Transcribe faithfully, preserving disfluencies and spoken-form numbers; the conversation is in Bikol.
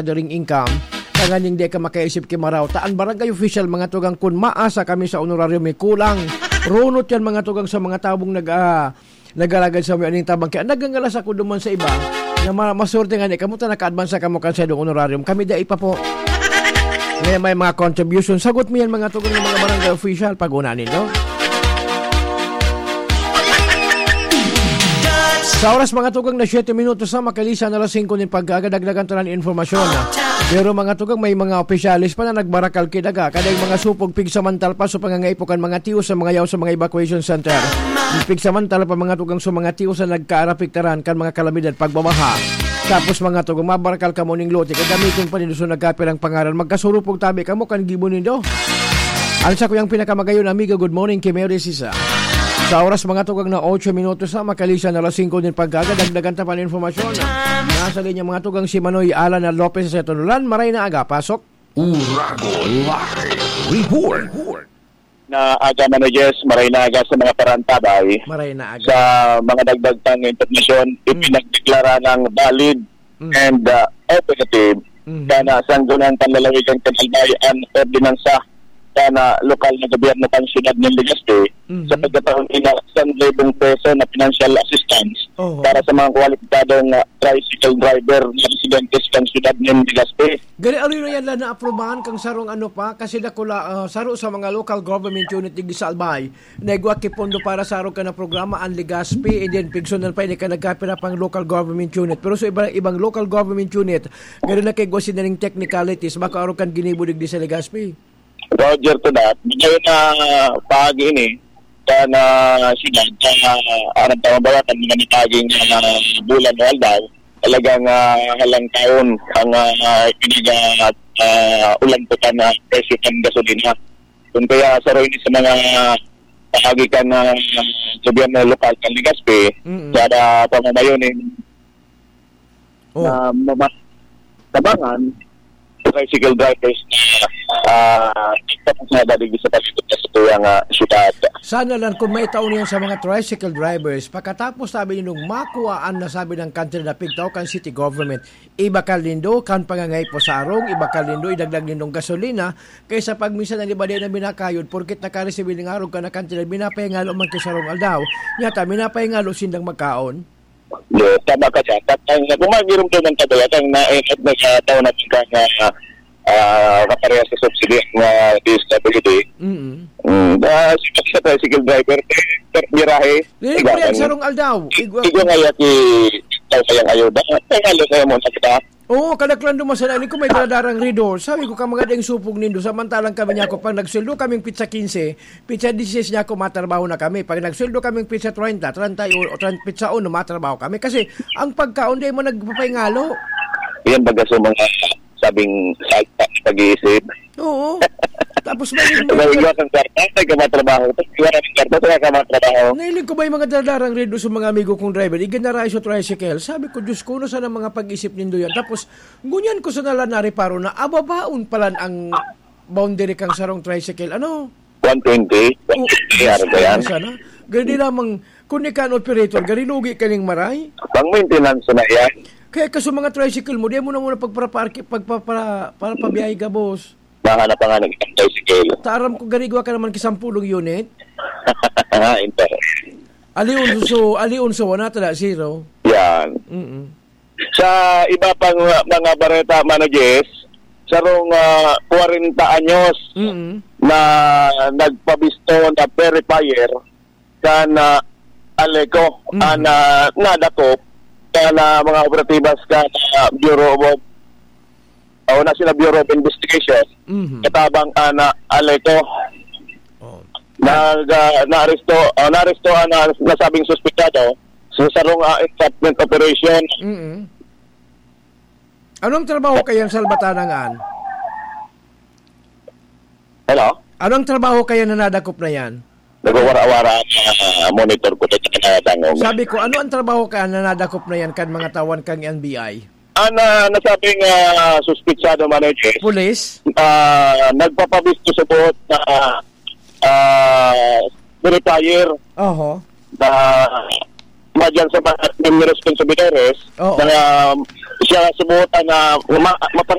during income, tanganing di ka makaisip ki Maraw. Ta an barangay official, mga tugang, kun maasa kami sa honorarium, may kulang. Runot yan, mga tugang, sa mga tabong nag, ah, nag-alagad sa mga aning tabang. Kaya nagangalas ako duman sa iba na ma-, masorte nga ni, "Kamuta naka-advance kamo kan saindong honorarium? Kami dai pa po." May, may mga contribution. Sagot mo yan, mga tugang, ng mga barangay official, pag-una nindo. Sa oras, mga tugang, na siyete minutos na makalisan alas singko nin pagkaaga, dagdagan ta na nin impormasyon. Pero, mga tugang, may mga opisyalis pa na nagbarakal ki daga, kada yung mga supog pigsamantal pa sa pangangaipo kan mga tiyo sa mga yaw sa mga evacuation center. Pigsamantal pa, mga tugang, sa mga tiyo sa nagkaarapiktaran kan mga kalamidad pagbabaha. Tapos, mga tugang, mabarakal kamo ning lote, gagamiton pa nindo sa nagkapirang pangaran. Magkasurupog tabi kamo kan gibo nindo. Ang sakuyang pinakamagayon na amigo, good morning, Kimeo de Sisa. Sa oras, mga tugang, na otso minutos na, makalisan alas singko nin pagkaaga, dagdagan ta pa ng informasyon. Nasa linya, mga tugang, si Manoy Alan Lopez sa Tunulan. Maray na aga, pasok. Uragon Live Report. Na aga, Manoy Jess, maray na aga sa mga parantabay. Maray na aga. Sa mga dagdag pang impormasyon, Mm. ipinagdeklara ng valid Mm. and, ah, effective Mhm. kana Sangguniang Panlalawigan kan Albay an ordinansa kana lokal na gobyerno kan siyudad nin Legazpi Mhm. sa pagkataon ina san libong peso na financial assistance Oho. para sa mga kwalipikadong, ah, tricycle driver na residentes kan siyudad nin Legazpi. Gani, ano yun yan na naaprubahan kang sarong ano pa? Kasi dakula, ah, saro sa mga local government unit digdi sa Albay, na igwa ki pondo para sa arog kan na programa, an Legazpi, and then pigsunan pa ini kan nagkapira pang local government unit. Pero sa iba, ibang local government unit, garo na kay igwa sinda ning technicalities, baka arog kan ginibo digdi sa Legazpi. Roger to that. Bigay na paagi ini, ka na siyudad, ka aram tama ba, kan mga nagaging, ah, bulan o aldaw, talagang, ah, halang taon ang, ah, pinag, ah, ah, ulan po ka na presyo kan gasolina. Kung kaya, saro ini sa mga paagi kan, ah, gobyerno lokal kan Legazpi, Mm. sa pamamayo ni Oh. na mama-, tabangan, tricycle drivers na, ah, tapos na dadig sa palibot na sa tuyang, ah, syudad. Sana lang kung may taon yan sa mga tricycle drivers, pagkatapos sabi niyo nung makuhaan na sabi ng kantidad na pigtao kan city government, ibakal nindo kan pangangay po sa arong, ibakal nindo, idagdag nindong gasolina, kaysa pag minsan ang iba di na binakayod, porkit nakaresibi ng arog ka na kantidad, minapahingalo man ki sarong aldaw, nyata minapahingalo sindang magkaon. Yes, tama ka dyan. At ang, kung magirumduman ka ba yan, ang naingat na sa taon na pagka na, ah, kaparehas sa subsidy ang, ah, D S W D. Mm. Mm, ah, si, sa tricycle driver, eh, per birahe. Dili ko Iba yan, ang sarong aldaw. Igwa- Igwa nga yan, si, ikaw kayang ayuda. Kaya nga, kaya mo na kita. Oo, kadaklan duman sana. Ini ko may daradarang Red Horse. Sabi ko, "Ka mga daing supog nindo, samantalang kami niya ako, pag nagsweldo kaming pitsa quince, pitsa dieciséis niya ako, matrabaho na kami. Pag nagsweldo kaming pitsa treinta, treinta y uno, o treinta, pitsa uno, matrabaho kami." Kasi ang pagkaon, di mo nagpapaingalo. Yan baga sa mga sabing salta sa pag-iisip. Oo. Tapos may, may, May iwas ang kwarta, may kamatrabaho. Tapos iwas ang kwarta, may kamatrabaho. Nailing ko ba yung mga daradarang Red Horse sa mga amigo kong driver? Iginarayo sa tricycle. Sabi ko, "Diyos ko, ano sana mga pag-isip nindo yan?" Tapos, ngunyan ko sana lang nareparo na ababaon pala ang boundary kang sarong tricycle. Ano? One twenty? Oh, One twenty, ano ba yan? Sana? Gani lamang, kung ni kan operator, gani lugi ka ning maray? Pang maintenance na yan. Kaya kaso mga tricycle mo, di mo na muna pagparaparki-, pagpapara-, para pabiyahe ka, boss. Mahanap pa nga ng isang tricycle. Ta aram ko, garigwa ka naman kisampulong unit. Inter. Ali Unso, Ali Unso, wala tala, zero. Yan. Mm-mm. Sa iba pang mga bareta, Mano Jess, sarong, ah, kwarenta anyos Mm-mm. na nagpabisto na verifier kan, ah, Aleco, Mm. ah, na nadakop kan, ah, mga operatibas kan, ah, Bureau of, o na sila Bureau of Investigation, Mhm. katabang an, ah, Aleco. Oh. Nag, ah, naaresto, ah, naaresto ang, ah, nasabing suspetsado sa sarong, ah, entrapment operation. Mm-mm. Anong trabaho kayan, Salbatana, ngan? Hello? Anong trabaho kayan na nadakop na yan? Nagwawara-wara ang, ah, monitor ko dito na dangog. Sabi ko, ano ang trabaho ka na nadakop na yan kan mga tawan kang N B I? Ang, ah, nasabing, ah, suspitsado, Mano Jess, Pulis? ah, nagpapabisto sa buot na, ah, verifier Oho. na madyan sa mga responsibilidades Oo. na siya subuta na ma-,